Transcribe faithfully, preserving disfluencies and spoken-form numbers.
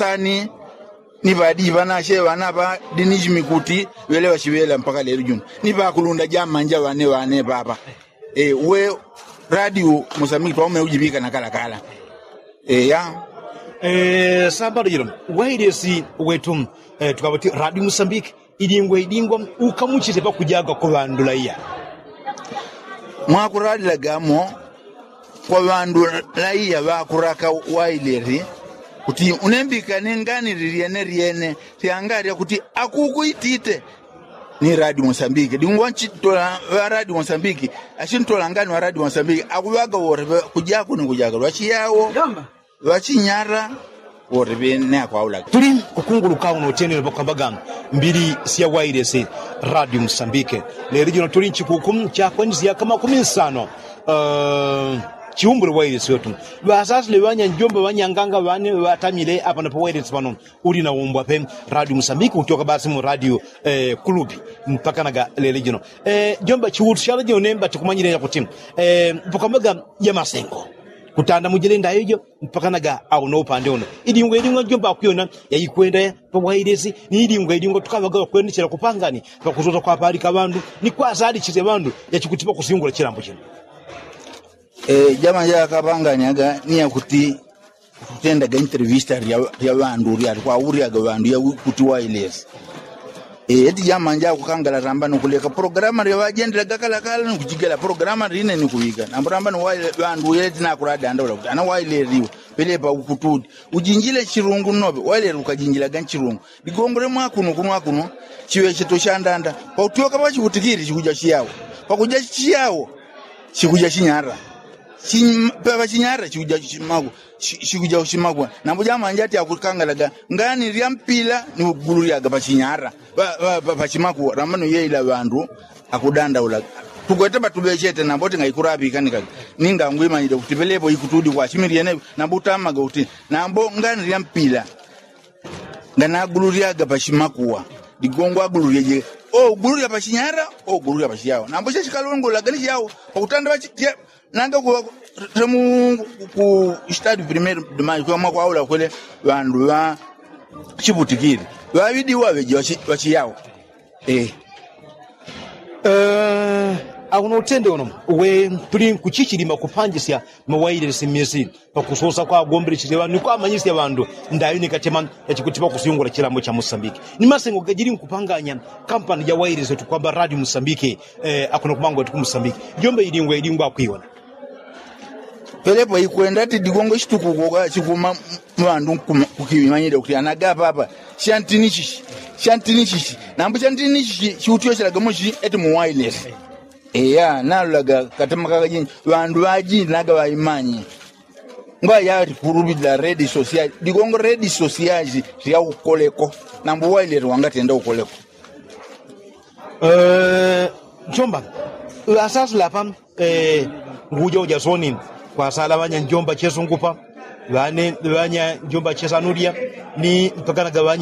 Ani ni ŵadiji ŵanashe ŵana ŵa diniji mikuti ŵele ŵashiŵela mpaka lelo juno ni ŵakulunda jamanja ŵane ŵane ŵaŵa. Uwe radio musambiki twaume ujiŵika na kalakala. Eya. Sambalo jilo wailesi wetu tukaŵa kuti radio musambiki idingwa idingwa ukamuchite pakujaga kwa ŵandu laiya. Mwakulalilagamo kwa ŵandu laiya ŵakuraka wailesi kuti unembikane ngani lilyene lyene lyangalya kuti akuku itite ni radio musambiki dingwa nchitola ŵa radio musambiki. Ashintola ngani ŵa radio musambiki akuŵaga wote kujaku ni kujaga lwachiyawo ŵachinyara wote ŵene akwaulaga. Tuli kukunguluka uno utenele pakwambaga mbili sya wailesi radio musambiki. Lelo jino tuli nchikuku chakwenisya kamakumi nsano. Chiumbule wailesi wetu ŵasasile ŵanya njomba ŵanyanganga ŵane ŵatamile apano pa wailesi pano. Uli naumbwa pe radio musambiki utyoka basi mu radio kulupi mpaka naga lelo jino. Jomba chiutu sya lelo jino nemba tikumanyile yakuti pakwambaga jamasengo kutanda mujile ndayo ijo mpaka naga auno upande uno. Idingwa idingwa jomba akwiyona yaikwenda pa wailesi ni idingwa idingwa tukaŵaga ŵakwenechela kupangani pakusosa kwapalika ŵandu ni kwasalichile ŵandu yachikutipa kusyungula chilambo chino. Jama jakapanganyaga ni yakuti tutendaga intervista lya ŵandu lyali kwaulyaga ŵandu yakuti wailesi. Eti jama njakukangala ramba ni kuleka programa lya ŵajendelaga kalakala ni kujigela programa line ni kuŵika nambo ramba ni ŵandu yeti nakuladanda ula kuti ana wailesi iwe pelepa ukutudi ujinjile nchilungu nnoŵe wailesi ukajinjilaga nchilungu. Ligongole mwakuno kuno akuno chiŵecheto chandanda pautyoka pachiŵutikili chikuja chiyawo pakuja chiyawo chikuja chinyara. Pachinyara chikuja chimakwa. Chikuja chimakwa nambo jamanja ati akukangalaga ngani lya mpila ni ugululyaga pachinyara pachimakwa ramano yeila ŵandu akudandaulaga. Tukwete patuŵechete nambo tingaikurapikanika ningangwimanyile kuti pelepo ikutudi kwachimiliene nambo utamaga kuti nambo ngani lya mpila nganagululyaga pachimakuwa. Ligongo agululyeje ogululya pachinyara ogululya pachiyawo nambo chachikalongolaga ni chiyawo pakutanda nanga kuwa temu ku stadi primero de mayo kuwa mwakwaula kwele ŵandu ŵa chiputikili ŵaŵidi waŵeje ŵachiyawo. Auno utende uno we tuli nkuchichilima kupanjisya mawailesi mmisi pakusosa kwagombelechesya ŵandu ni kwamanyisya ŵandu ndayo ni katema yachikutipa kusyungula chilambo cha musambiki. Ni masengo gajili nkupanganya kampani ja wailesi tukwamba radio musambiki. Akuno kumango tuku musambiki jomba idingwa idingwa akwiyona. Pelepo ikwenda ati digongo chitukuko chikuma ŵandu kukimanyile kuti anaga papa chantini chichi chantini chichi nambo chantini chichi chiutyochelaga mochi eti mu wailesi. Eya nalulaga katema kakajinji ŵandu ŵajinji naga ŵaimanyi. Ngwayati kuluŵila redi sosiali digongo redi sosiali lya ukoleko nambo wailesi wangatenda ukoleko. Jomba ŵasasila apa nguja uja soni kwasala ŵanya njomba chesungupa ŵane ŵanya njomba chesanulya ni mpakanaga ŵanya